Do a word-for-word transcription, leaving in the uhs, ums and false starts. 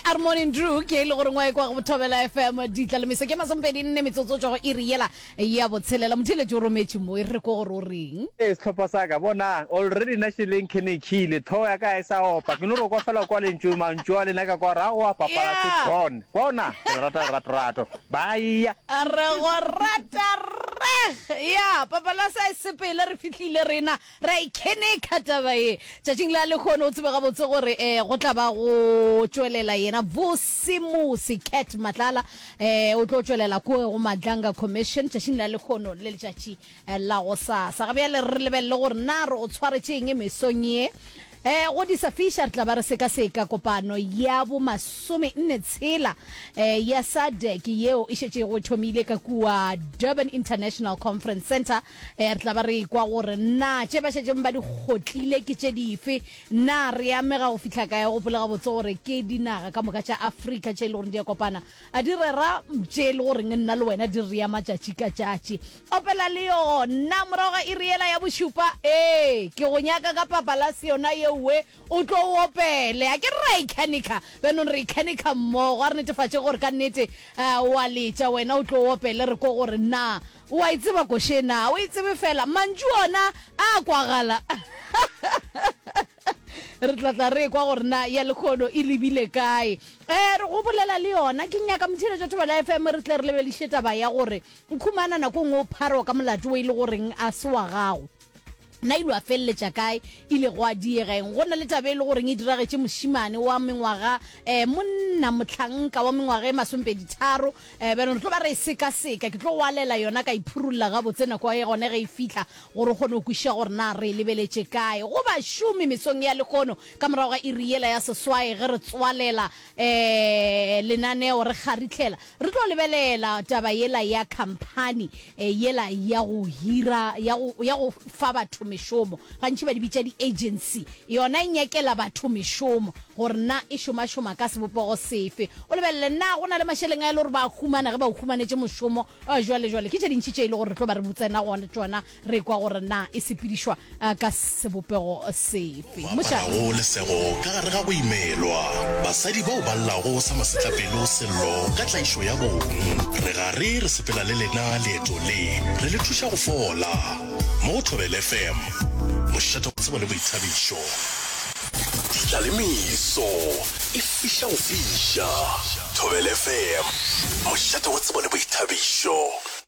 A re Morning Drew ke e le gore ngwa e kwa go Thobela F M ditla le meso ke masomepedi nne metsotso tšwa go iri yela ya botshelela. Motheeletši o rometše mo e re ko gore o reng. Ee, sehlopha sa ka, bonang, already nna šele nkhenekile, hlogo ya ka ga e sa opa, ke no re kwa fela kwa lentšu, mantšu a lena ka kwa gore aowa papa la se Yeah. gone. Bona, ke le rata lerato-rato. Bye. Re go rata reg. Ya, papa la sa e sepele re fihlile rena ra ikhenekha taba ye. Tšatšing la lehono o tsebe gabotse gore um go tla ba go tšwelela yena Vusimusi Cat Matlala, um o tlo tšwelela kua go Madlanga Commission tšatšing la lehono le letšatši la gosasa. Ga bjale re lebelele gore na re o tshwaretše eng mesong ye. Um go di sa fiša re tla ba re sekaseka kopano ya bo masome nne tshela um ya SADC yeo e šetšego e thomile ka kua Durban International Conference Center. um re tla ba re kwa gore na tše ba šetšeng ba di kgotlile ke tše dife, na re amega go fihla kae. Gopola gabotse gore ke dinaga ka moka tša Afrika tše e le goreng di a kopana a di rera tše e le goreng nna le wena di re ama tšatši ka tšatši. Opela le yona morago ga iri yela ya bošupa. Ee, ke go nyaka ka papalase yona yeowe o tlo o opele a ke re ra ikhanika bjanong re ikhanika mmogo. A re netefatše gore ka nnete uh, wa letša wena o tlo o opele re ko gore na o a e tseba koše na o e tsebe fela mantšu ona a kwagala. Re tla tla re kwa gore na ya lekgono e lebile kae. um re go bolela le yona ke nyaka motheeletšo Thobela F M re tle re lebeliše taba ya gore nkhumana nako nngwe o pharwa ka molato o e le goreng a se wa gago, na ile a feleletša kae, ile go a diegeng. Go na le taba e le goreng e diragetše mošimane wa mengwaga um monna mohlanka wa mengwaga e masomepedi tharo. um bjanong re tlo ba re e sekaseka, ke tlo go alela yona ka iphurulla gabotse nako ya gone ge e fihla gore o kgone go kwešiša gore na re e lebeletše kae. Go bašomi mesong ya lehono ka morago ga iri yela ya seswai ge re tswalela um lenaneo re kgaritlhela re tlo lebelela taba yela ya company yela ya go hira ya go ya go fa batho mešomo, gantši ba di bitša di-agency. Yona e nyakela batho mešomo gore na e šomašoma ka sebopego sefe, o lebelele na go na le mašeleng a e le gore ba humana ge ba o humanetše mošomo. Jwale jwale ke tše dintši tše e le gore re tlo ba re botsena gona tšona re kwa gore na e sepedišwa ka sebopego sefe. Mošate Baparago lesego ka gare ga go imelwa, basadi bao ba llago sa masetlapelo sello ka tlaišo ya bong, re gare re sepela le lena leeto le re le thuša go fola mo go Thobela F M, mošate wa tsebo le boithabišo. Ditla le meso e fiša go fiša. Thobela F M, mošate wa tsebo le boithabišo.